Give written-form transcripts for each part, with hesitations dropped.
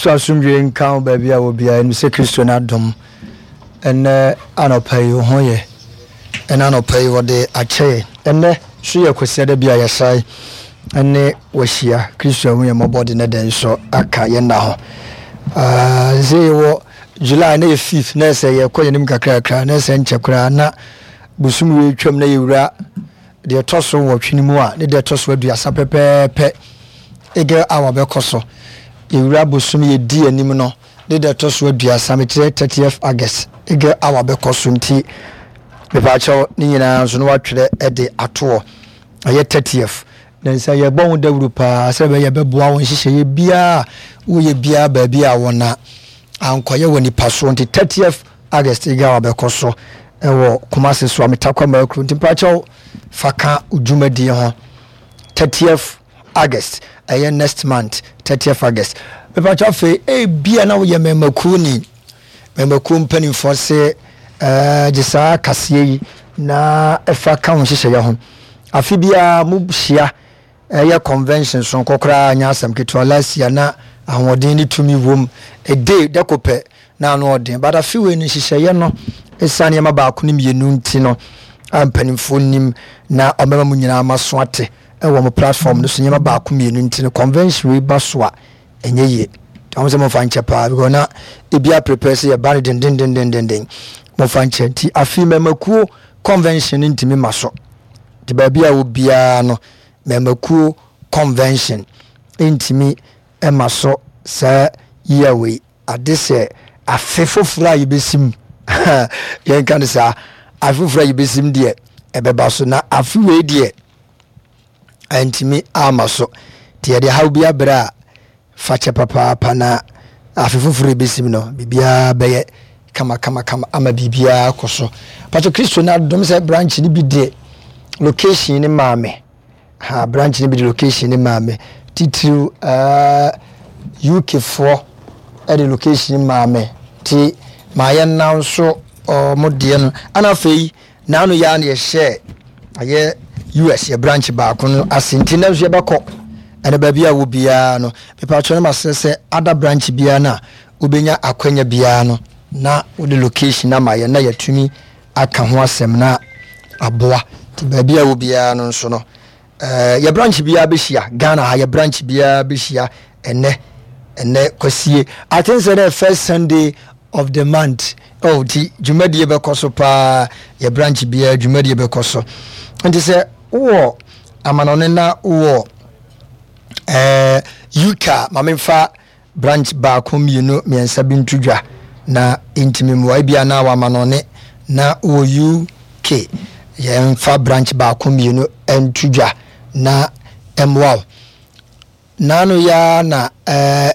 Kristo asomdwoe nka wo baabi a wɔ biara. Yɛnim sɛ Kristo n'adom ɛnnɛ anɔpa yi wo ho yɛ. Ɛnnɛ anɔpa yi wɔde akyɛ yɛn. Ɛnnɛ nso yɛ Kwasiada bi a yɛsan ne wahyia. Kristo ahu yɛn mmɔbɔ de ne dɛn nso aka yɛn nna ho. Ah, sɛ yɛwɔ July na yɛ fifth na ɛsɛ yɛkɔ yɛn anim kakrakra na ɛsɛ nkyɛ koraa na bosom wei twam na yɛwura Deɛ ɛtɔ so nwɔtwe no mu a ne da ɛtɔ so aduasa pɛpɛɛpɛ Eagle Hour bɛkɔ so. Yɛwura bosome yɛdi anim no ne da ɛtɔ so aduasa, mekyerɛ 30th August, Eagle Hour bɛkɔ so nti mepaakyɛw ne nyinaa nso no watwerɛ de atoɔ. Ɛyɛ 30th. Na nsa yɛbɔ ho dawuro paa sɛ ɛbɛyɛ bɛboa wo nhyehyɛeɛ biara woyɛ biara baabi a wɔn a ankɔyɛ wɔ nipa so nti 30th August yi gawa bɛkɔ so wɔ Kumasi so Ametakwa Makuro nti mpakyɛw fa ka wo dwumadie ho 30th August ɛyɛ next month 30th August mepakyɛw afei ebia na woyɛ mmɛmakuo ni mmɛmakuo mpanimfoɔ se ɛɛ gye saa kaseɛ yi na ɛfa ka wo nhyehyɛeɛ ho afe biara mo hyia Ɛyɛ convention soronko koraa nyɛ asɛm ketewa last year na ahoɔden ne tumi wom a day dako pɛ na ano ɔden but afe wei no nhyehyɛeɛ no ɛsiane nneɛma baako ne mmienu nti no a mpanimfoɔ nim na ɔmɛma mu nyinaa ma so ate ɛwɔ mo platform no so nneɛma baako mmienu nti no convention wei ba so a ɛnyɛ yie wɔn sɛ momfa nkyɛ paa because na ebi aprepare sɛ yɛba no dendendendenden momfa nkyɛ nti afe mmɛmakuo convention no ntumi ma so Nti baabi a wɔ biara no, mmɛɛmakuo convention ntumi mma so saa year wei, ade sɛ afe foforɔ a yɛbɛsim, yɛnka no saa, afe foforɔ a yɛbɛsim deɛ ɛbɛba so, na afe wei deɛ ɛntumi ama so. Nti yɛde haw bi abrɛ a, Fakyɛ papaapa na afe foforɔ ɛbɛsim no biribiara bɛyɛ kama kama kama ama biribiara akɔ so. Pakyɛ Kristo no adom sɛ branch no bi de location no maa me. Ha branch no bi de location no maa me. Titiriw uh, UK foɔ ɛde location no maa me. Nti maa yɛn nan nso ɔmo deɛ no. Ana afei N'ano yi ara na yɛhyɛɛ ɛyɛ US yɛ branch baako no ase nti nnɛ nso yɛbɛkɔ ɛna baabi a wɔ biara no mepatwɛ no masrɛ sɛ ada branch biara no a wobɛnya akwanya biara no na wode location ama yɛn na yɛatumi aka ho asɛm na aboa nti baabi a wɔ biara no nso no Eh, yɛ branch biara bɛhyia Ghana ha, yɛ branch biara bɛhyia ɛnɛ ɛnɛ kwasie. I think sɛ dɛ first Sunday of the month. Oh, nti dwumadie bɛkɔ so paa, yɛ branch biara dwumadie bɛkɔ so. Nti sɛ wowɔ amanɔne na wowɔ eh, UK a, ma memfa Branch baako, mmienu, mmiɛnsa bi nto dwa na ɛntumi mmoa. Ebia na w'amanɔne na wowɔ UK. Yɛmfa branch baako, mmienu nto dwa na ɛmmoa wo. Naano yi ara na eh,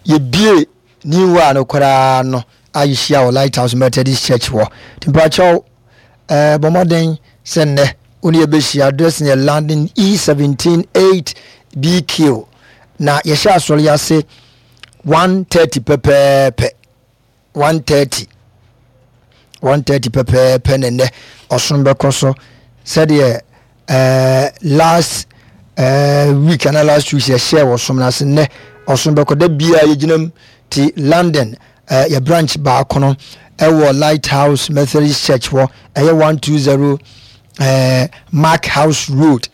yɛbie New One no koraa no a yɛhyia wɔ Lighthouse Methodist Church hɔ. Nti mpakyɛw eh, bɔ mmɔden sɛ nnɛ wo ne yɛbɛhyia. Address no yɛ London E17 8BQ. Na yɛhyɛ asɔre yi ase 1:30 pɛpɛɛpɛ 1:30 1:30 pɛpɛɛpɛ na nnɛ ɔsom bɛkɔ so sɛdeɛ ɛɛ last ɛɛ week ana last week yɛhyɛ wɔ som no ase nnɛ ɔsom bɛkɔ da biara yɛgyina mu ti London ɛɛ yɛ branch baako no ɛwɔ Lighthouse Methodist Church hɔ ɛyɛ 120 ɛɛ Mark House Road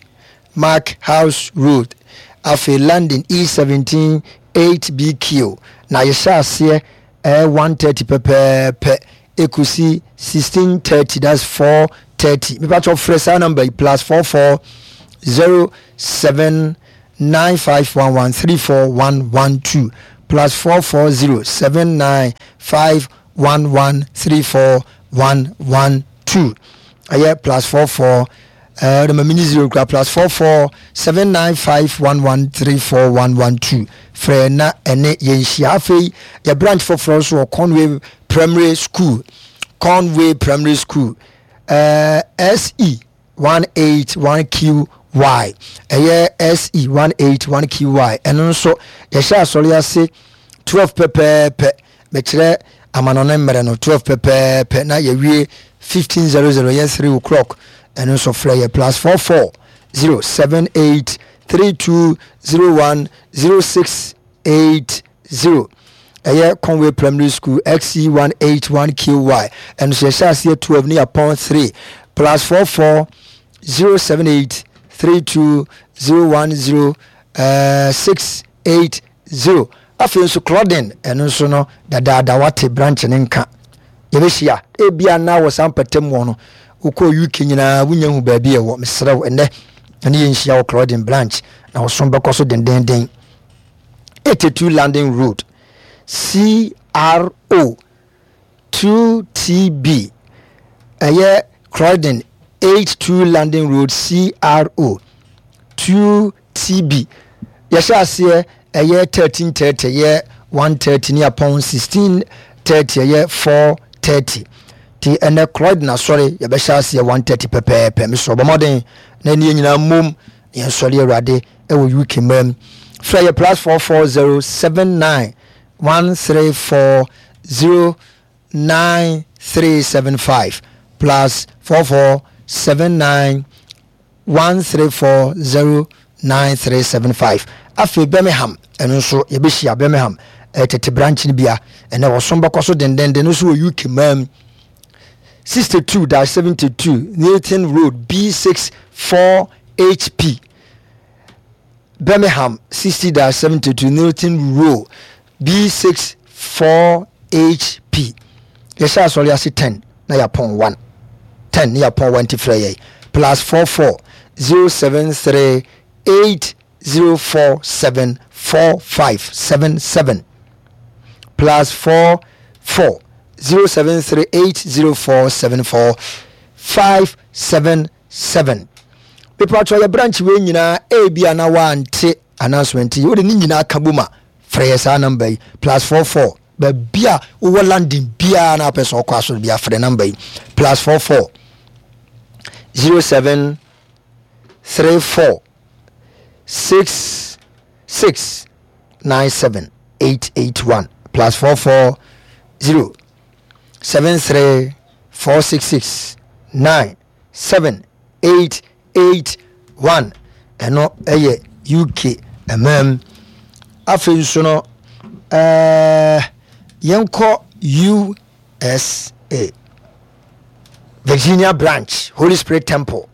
Mark House Road, afei London E17 8BQ, na yɛhyɛ aseɛ ɛyɛ 1:30 pɛpɛɛpɛ ɛkɔsi 16:30, that's 4:30. Mepa kyɛw frɛ saa number yi +44 07 9511 34112 +44 07 9511 34112 ɛyɛ +44 Ɛɛ ɔde ma mini zero kura +44 795 11 34 112 frɛ na ɛne yɛn hyia. Afei yɛ branch foforɔ nso wɔ Conway Primary School Conway Primary School ɛɛ SE 181 QY ɛyɛ SE 181 QY ɛno nso yɛhyɛ asɔre ase 12 pɛpɛɛpɛ Mekyerɛ amanɔne mmerɛ no 12 pɛpɛɛpɛ na yɛwie 15:00 yɛ 3 o'clock ɛno nso frɛ yɛ plus 44 078 32 01 0680. Ɛyɛ Conway Primary School, XE181QY. Ɛno nso yɛhyɛ aseɛ 12 ne yɛapɔn 3 plus 44 078 32 010 680. Afei nso Claudine, ɛno nso no dadaada wate branch ne nka. Yɛbɛhyia ebia na wɔ saa mpɔtam wɔ no wokɔ UK nyinaa wonya hu baabi ɛwɔ. Mesrɛ wo ɛnɛ ɛne yɛnhyia wɔ Claudine branch na wɔsom bɛkɔ so dendenden. 82 London Road, CRO 2TB. Ɛyɛ Croydon 82 London Road, CRO 2TB. Yɛhyɛ aseɛ ɛyɛ 13:30 ɛyɛ 1:30 ne apɔn 16:30 ɛyɛ 4:30. Ti ɛnɛ Croydon asɔre yɛbɛhyɛ aseɛ 1:30 pɛpɛɛpɛ. Mesrɛ bɔ mmɔden na ɛne yɛn nyinaa mmom na yɛnsɔre Awurade ɛwɔ UK man. Frɛ yɛ plus 440 79 134 09375 plus 44 79 134 09375. Afei Birmingham, ɛno nso yɛbɛhyia Birmingham eh, tete branch no bia ɛnɛ wɔsom bɛkɔ so dendenden no nso wɔ UK man 62-72 Newton Road B6 4HP Birmingham 60-72 Newton Road B6 4HP. Yɛhyɛ asɔre ase 10 na yɛapɔn 1. 10 ne yɛapɔn 1 nti frɛ yɛn plus 44 073 8047 4577 plus 44 073 8047 4577. Mepatwɔ yɛ branch wei nyinaa ebia na wante announcement yi wode ne nyinaa ka bom a frɛ yɛ saa number yi plus 44 baabi a wowɔ London biara na apɛ sɛ ɔkɔ asɔre bi afrɛ number yi plus 44 07 34 6 6 9 7 8 8 1 plus 44 0 7 3 4 6 6 9 7 8 8 1 ɛno ɛyɛ UK ɛmam. Afei nso no ɛɛ yɛnkɔ USA Virginia branch Holy Spirit Temple.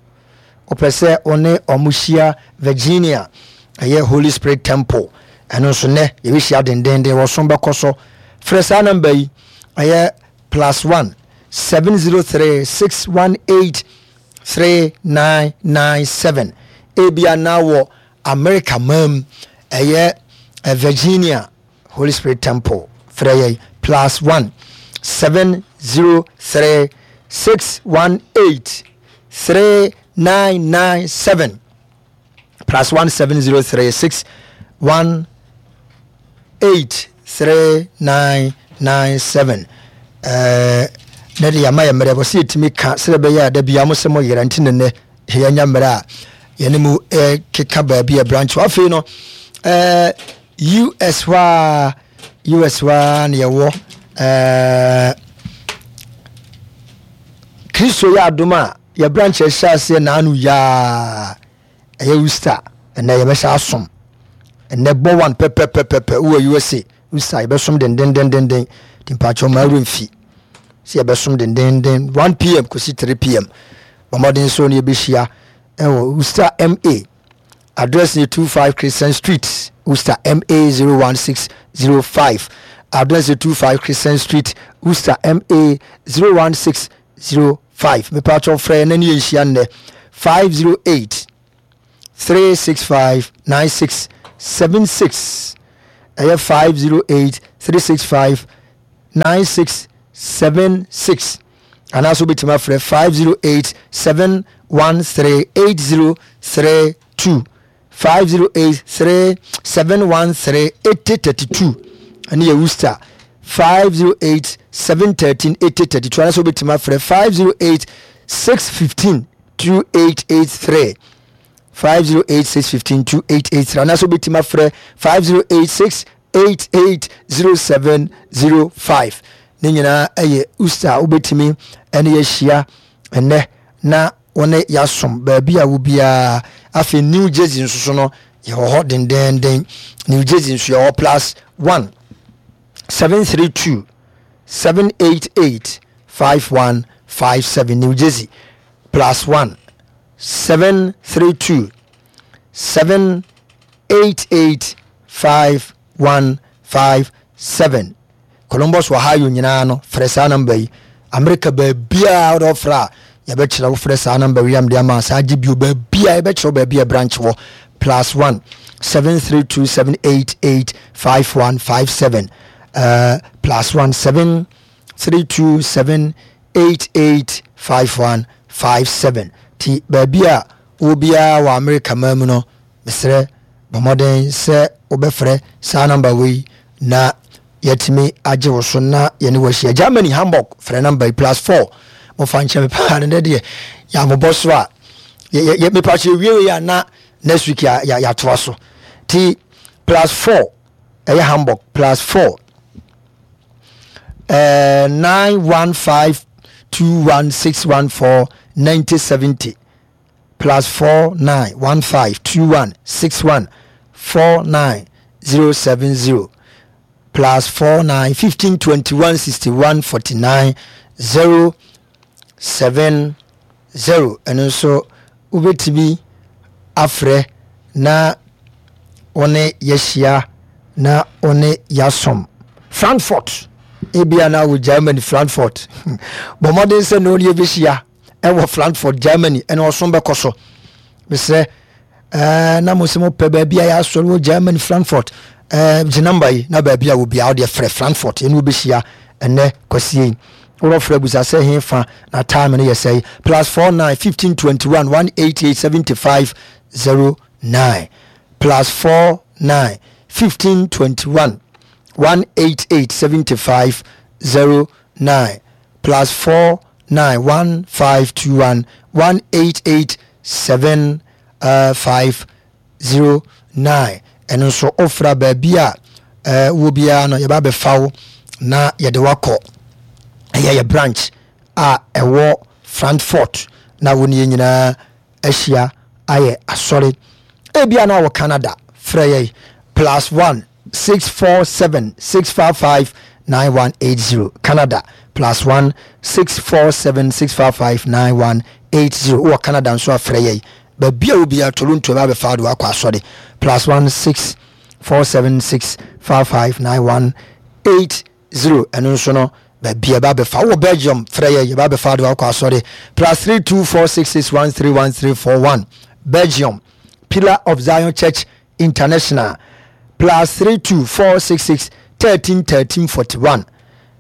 Wopɛ sɛ wo ne ɔmo hyia Virginia ɛyɛ Holy Spirit Temple ɛno nso nɛ yɛbɛhyia dendenden wɔsom bɛkɔ so. Frɛ saa namba yi ɛyɛ plus 1 703 618 3997. Ebia na wɔ America man mu, ɛyɛ eh, Virginia Holy Spirit Temple. Frɛ yɛn plus 1 703 618 3997 plus 1 703 618 3997 ɛɛ na de yɛama yɛ mmerɛ wɔ sɛ yɛtumi ka sɛ ɛbɛyɛ a da bia mo sɛ mo yera nti ne nnɛ yɛanya mmerɛ a yɛne mu keka baabi a branch afei no ɛɛ US hɔ a US hɔ a na yɛwɔ ɛɛ Kristo yɛ adom a yɛ branch ɛhyɛ aseɛ naano yaa ɛyɛ Worcester ɛnɛ yɛbɛhyɛ asom ɛnɛ bɔ one pɛpɛpɛpɛpɛ wɔ USA Worcester yɛbɛsom dendendendenden nti mpakyɛw ma awura mfi sɛ yɛbɛsom dendenden 1 pm kɔsi 3 pm bɔ mmɔden so ne yɛbɛhyia ɛwɔ Worcester MA address ne 25 Christian Street Worcester MA 01605 address ne 25 Christian Street Worcester MA 01605 mepatwɔ frɛ na ne yɛnhyia nnɛ 508 365 9676 ɛyɛ 508 365 9676 anaasɛ wobɛtumi afrɛ 508 713 8032 508 3 713 8032 ɛne yɛ Worcester 508 713 8032 anaasɛ wobɛtumi afrɛ 508 615 2883 508 615 2883 anaasɛ wobɛtumi afrɛ 508 688 0705 ne nyinaa ɛyɛ Worcester a wobɛtumi ɛne yɛahyia ɛnɛ na wɔne yɛasom baabi a wo biara. Afei New Jersey nso so no yɛwɔ hɔ dendenden. New Jersey nso yɛwɔ plus one. 732 788 5157 New Jersey plus 1 732 788 5157 Columbus Ohio nyinaa no frɛ saa namba yi Amerika baabiaa wode ɔfrɛ a yɛbɛkyerɛ wo frɛ saa namba wei amde ama saa gye bio baabiaa yɛbɛkyerɛ wo baabi a branch wɔ plus 1 732 788 5157 plus 1 7 32 788 5157 ti baabi a wɔ biara wɔ Amerika man mu no mesrɛ bɔ mmɔden sɛ wobɛfrɛ saa namba wei na yɛatumi agye wo so na yɛne wahyia Germany Hamburg frɛ namba yi plus 4 mofa nkyɛ me paa no dɛ deɛ yɛamobɔ so a mepa kyɛ wie wei a na next week yɛatoa so ti plus 4 ɛyɛ Hamburg plus 4 915 21614 9070 plus 49 15 21 61 49 070 plus 49 15 21 61 49 070 ɛno nso wobɛtumi afrɛ na wo ne yɛahyia na wo ne yɛasom Frankfurt ebia na wɔ Germany Frankfurt bɔ mmɔden sɛ ne wo ne yɛbɛhyia ɛwɔ Frankfurt Germany ɛna ɔsom bɛkɔ so mesrɛ ɛɛ na mo sɛ mo pɛ baabi a yɛasɔre wɔ Germany Frankfurt ɛɛ gye namba yi na baabi a wɔ biara wodeɛ frɛ Frankfurt ɛne wobɛhyia ɛnɛ kwasie yi worɔfrɛ busa sɛ he fa na time no yɛ sɛe plus 49 15 21 188 75 09 plus 49 15 21 188 75 09 plus 4 9 1 5 2 1 1 8 8 7 5 0 9 ɛno nso wofra baabi a wɔ biara no yɛba bɛfa wo na yɛde wakɔ ɛyɛ yɛ branch a ɛwɔ Frankfurt na wo ne yɛ nyinaa ahyia ayɛ asɔre. Ebia na wɔ Canada, frɛ yɛn plus 1 647 655 9180. Canada plus 1 647 655 9180. Wɔ Canada nso a frɛ yɛn. Baabi a obiara Toronto ɛbɛ abɛfa de wakɔ asɔre plus 1 647 655 9180. 0 ɛno nso no baabi a ɛba abɛfa wowɔ Belgium frɛ yɛ yɛba abɛfa de wakɔ asɔre plus 3 2 4 6 6 1 3 1 3 4 1 Belgium Pillar of Zion Church International plus 3 2 4 6 6 13 13 41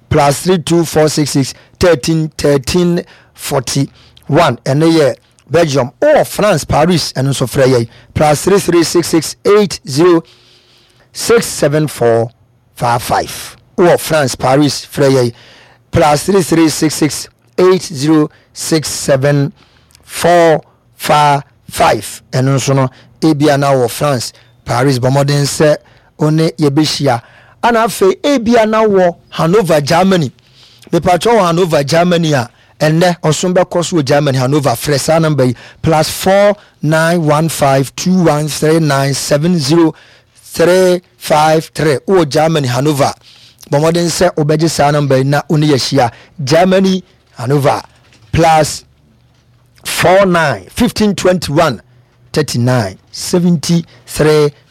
plus 3 2 4 6 6 13 13 41 ɛno yɛ Belgium wowɔ France Paris ɛno nso frɛ yɛ plus 3 3 6 6 8 0 6 7 4 55 wowɔ France Paris frɛ yɛn plus 33 66 80 67 4 5 ɛno nso no ebia na wɔ France Paris bɔ mmɔden sɛ wo ne yɛbɛhyia ana afei ebia na wɔ Hanover Germany mepatwɛ wɔ Hanover Germany a ɛnnɛ ɔsom bɛkɔ so wɔ Germany Hanover frɛ saa namba yi plus 4 9 1 5 2 1 3 9 7 0 3 5 3 Wowɔ Germany, Hannover. Bɔ mmɔden sɛ wobɛgye saa nɔmba yi na wo ne yɛahyia. Germany, Hannover, plus 4 9 15 21 39 73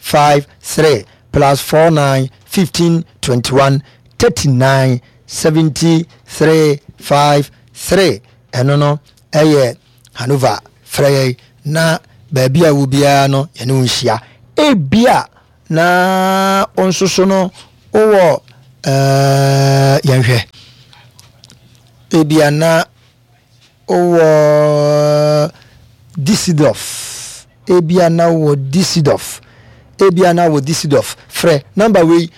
5 3 plus 4 9 15 21 39 73 5 3 ɛno no ɛyɛ Hanover frɛ yɛn na baabi a wɔ biara no yɛne wo nhyia. Ebia na wo nso so no wowɔ ɛɛ yɛnhwɛ. Ebia na wowɔ Düsseldorf. Ebia na wowɔ Düsseldorf. Ebia na wowɔ Düsseldorf. Frɛ namba wei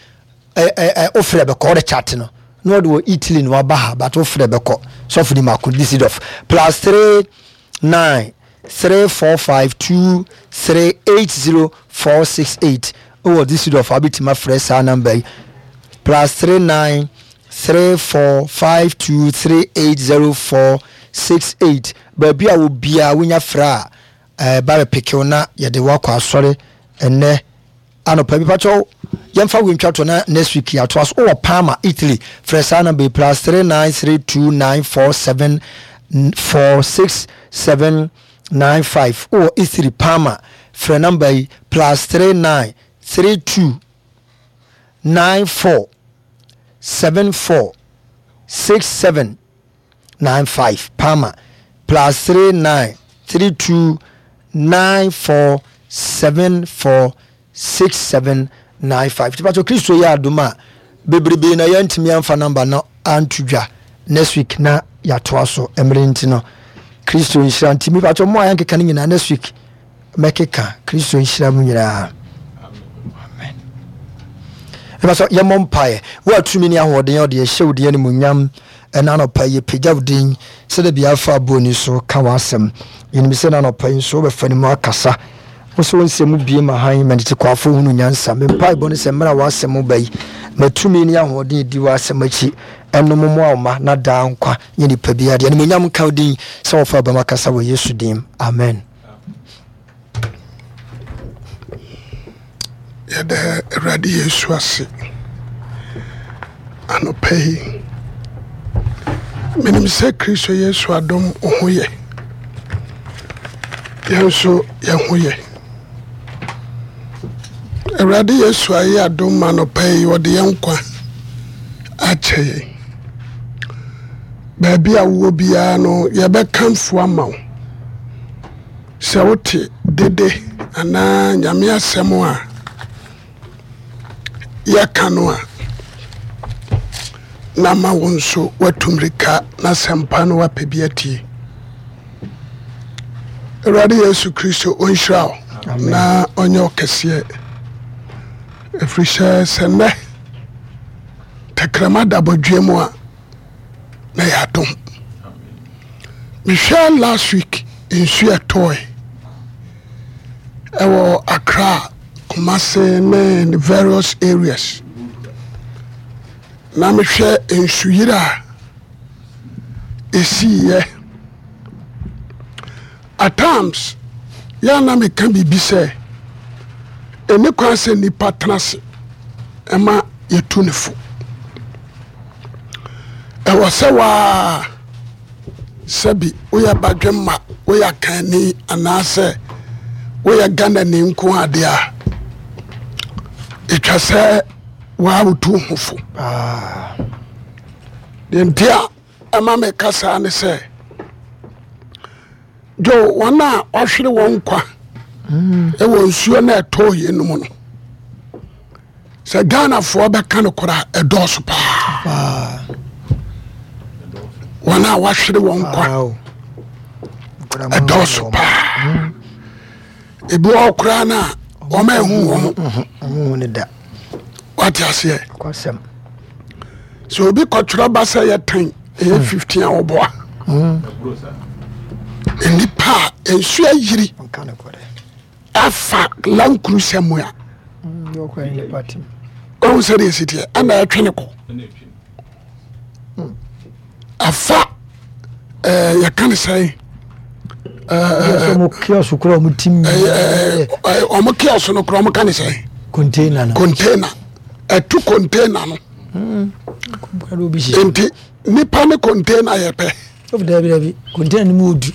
ɛ wofrɛ bɛkɔ wode chat no na ɔde wɔ Italy na waba ha but wofrɛ bɛkɔ sɔfo ni mako Düsseldorf plus 3 9 3 4 5 2 3 8 0 4 6 8 wɔ Düsseldorf a wobɛtumi afrɛ saa number yi plus 3 9 3 4 5 2 3 8 0 4 6 8 baabi a wobiaa wonya frɛ a ɛba bɛpekew na yɛde wakɔ asɔre ɛnɛ anɔpa bi pakyɛw. Yɛmfa wei ntwa to na next week yɛatoa so. Wowɔ Parma, Italy, frɛ saa number yi, plus 393294 746 795. Wowɔ Italy, Parma, frɛ number yi, plus 3932 94 74 67 95. Parma, plus 3932 94 74 6795 nti patro Kristo yɛ adom a bebrebe na yɛntumi amfa number no anto dwa next week na yɛatoa so mmerɛ nti no Kristo nhyira nti mi patro mo a yɛnkeka no nyinaa next week mɛkeka Kristo nhyira mu nyinaa amen ɛbɛsɛ yɛmmɔ mpaeɛ wo a tumi ne ahoɔden ɔde ɛhyɛ wo din animuonyam Ɛna anɔpa yi yɛpagya wo din sɛdeɛ bia afa aboɔni so ka w'asɛm. Yɛnim sɛ ɛna anɔpa yi nso wobɛfa ne mu akasa. Wo sɛ wo nsɛm mu bie ma hann ma ntetekwaafoɔ hunu nyansa. Me mpaebɔ ne sɛ mmerɛ a w'asɛm reba yi, ma tumi ne ahoɔden ɛdi w'asɛm akyi ɛnom mmoa wo mma na daa nkwa nyɛ nipa biara deɛ. Animuonyam nka wo din sɛ wɔfa aba mu akasa wɔ Yesu din mu. Amen. Yɛda Awurade Yesu ase anɔpa yi. Menim sɛ Kristo Yesu adom wo ho yɛ. Yɛn nso yɛn ho yɛ. Awurade Yesu ayɛ adom ma anɔpa yi ɔde yɛn nkwa akyɛ yɛn. Baabi a wowɔ biara no yɛbɛkamfo ama wo. Sɛ wote dede anaa Nyame asɛm a yɛka no a, na ama wo nso woatu mmirika na asɛmpa no woapɛ bi atie. Awurade Yesu Kristo ɔnhyira wo na ɔnyɛ wo kɛseɛ, ɛfiri sɛ sɛ nnɛ tɛkrɛma da bɔdweɛ mu a na yɛ adom. Mehwɛ last week nsu ɛtɔe ɛwɔ Accra, Kumasi ne the various areas. Na mehwɛ nsuyiri a ɛsiiɛ. At times yɛ a na meka biribi sɛ ɛni kwan sɛ nipa tena ase ɛma yɛtu ne fo. Ɛwɔ sɛ waa sɛbi woyɛ badwemma, woyɛ akanni anaasɛ woyɛ Ghanani nko adeɛ a, ɛtwa sɛ waa wotu ho fo. Deɛ nti a ɛma meka saa ne sɛ dwo wɔn a wɔahwere wɔn nkwa ɛwɔ nsuo no ɛtɔɔ yɛ no mu no sɛ Ghanafoɔ bɛka no koraa ɛdɔɔso paa wɔn a wɔahwere wɔn nkwa ɛdɔɔso paa ebi wɔ koraa no a wɔn ahu wɔn wate aseɛ sɛ obi kɔtwerɛ ba sɛ yɛ tan ɛyɛ 15 a wɔboa nnipa a nsuo ayiri afa lankurusɛ mu a ɔhu sɛ deɛ ɛsiteɛ ɛna ɛtwe ne kɔ afa ɛɛ yɛka ne sɛn ɔmo kiosk kura ɔmo ti mi ɔmo kiosk no kura ɔmo ka ne sɛn container no container ɛtu container no nti nipa ne container yɛ pɛ. Dabi dabi container no mu odu.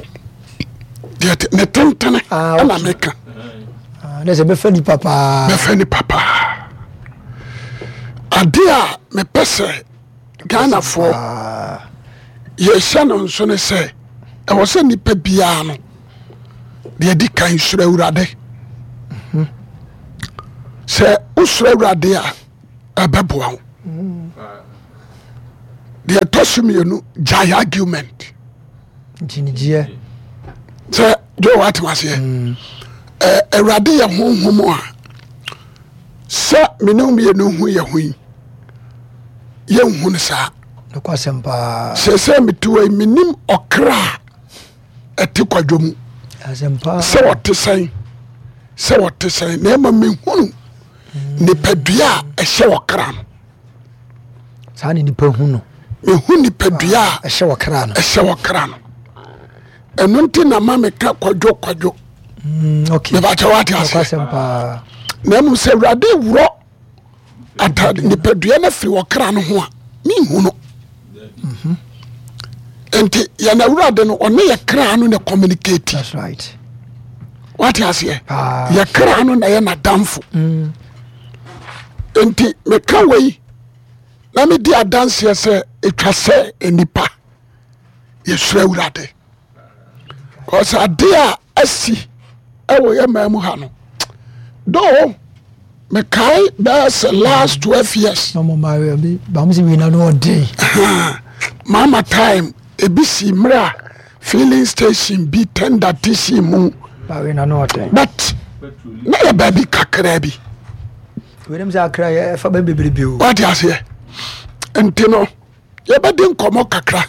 Deɛ ne tentene ah, ɛna meka. Ah, ne sɛ bɛfa nipa paa. Bɛfa nipa paa. Ade a mepɛ sɛ Ghanafoɔ yɛhyɛ no nso ne sɛ ɛwɔ sɛ nipa biara no deɛ di kan soro Awurade. Mhm. Sɛ wosoro Awurade a ɛbɛboa wo. Deɛ ɛtɔ so mmienu gyae argument. Nkyinigyeɛ. Sɛ dwo watem aseɛ. Mm. Awurade yɛ honhom a sɛ mene mmienu hu yɛ ho yi yɛnhu no saa. Nokwasɛm paa. Sɛ sɛ mete hɔ yi menim ɔkra a ɛte kwadwo mu. Sɛ ɔte sɛn sɛ ɔte sɛn na ɛma mehunu nipadua a ɛhyɛ ɔkra no. Saa na nipa hu no. Mehu nipadua a ɛhyɛ ɔkra no. Ɛhyɛ ɔkra no. Ɛno nti na ma meka kwadwo kwadwo. Mm, okay. Mebakyɛ wate aseɛ. Na mmom sɛ Awurade worɔ. Atade nipadua no afiri ɔkra no ho a menhu no. Nti yɛn awurade no ɔne yɛ kra no na communicate. That's right. Wate aseɛ? Yɛ kra no na yɛ n'adamfo. Nti meka wei na medi adanseɛ sɛ ɛtwa sɛ nnipa yɛsuro awurade. Cause adeɛ a asi ɛwɔ yɛ man mu ha no though mekae bɛyɛ sɛ last 12 years mama time ebi si mmerɛ a filling station bi tender te si mu but na yɛ baabi kakraa bi wate aseɛ nti no yɛbɛdi nkɔmmɔ kakra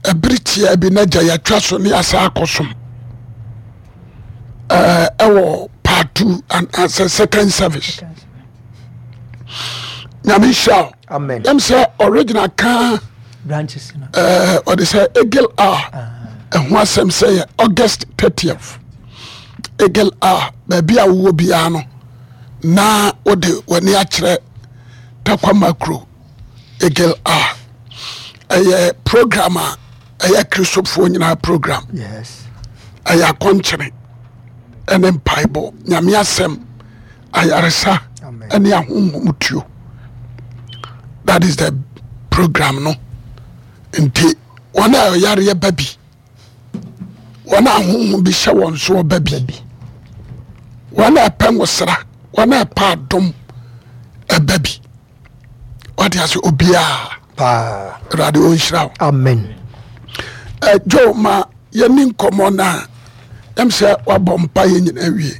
ɛbere tiaa bi na gya yɛatwa so ne asa akɔsom ɛwɔ part two anaasɛ second service nyame nhyira wo yɛm sɛ original ka ɔde sɛ egil a ɛho asɛm sɛ yɛ august 30th egil a baabi a wowɔ biara no na wode w'ani akyerɛ takwa makro Eagle a ɛyɛ program a ɛyɛ kristofoɔ nyinaa program ɛyɛ akɔnkyene ɛne mpaebɔ nyame asɛm ayaresa ɛne ahonhom tuo that is the program no nti wɔn a ɔyareɛ ba bi wɔn a ahonhom bi hyɛ wɔn so ɔba bi wɔn a ɛpɛ nwosra wɔn a ɛpɛ adom ɛba bi wate ase obiaa paa awurade ɔnhyira wo amen Joe ma yɛni nkɔmmɔ no a ɛm sɛ wabɔ mpa yɛ nyina wie.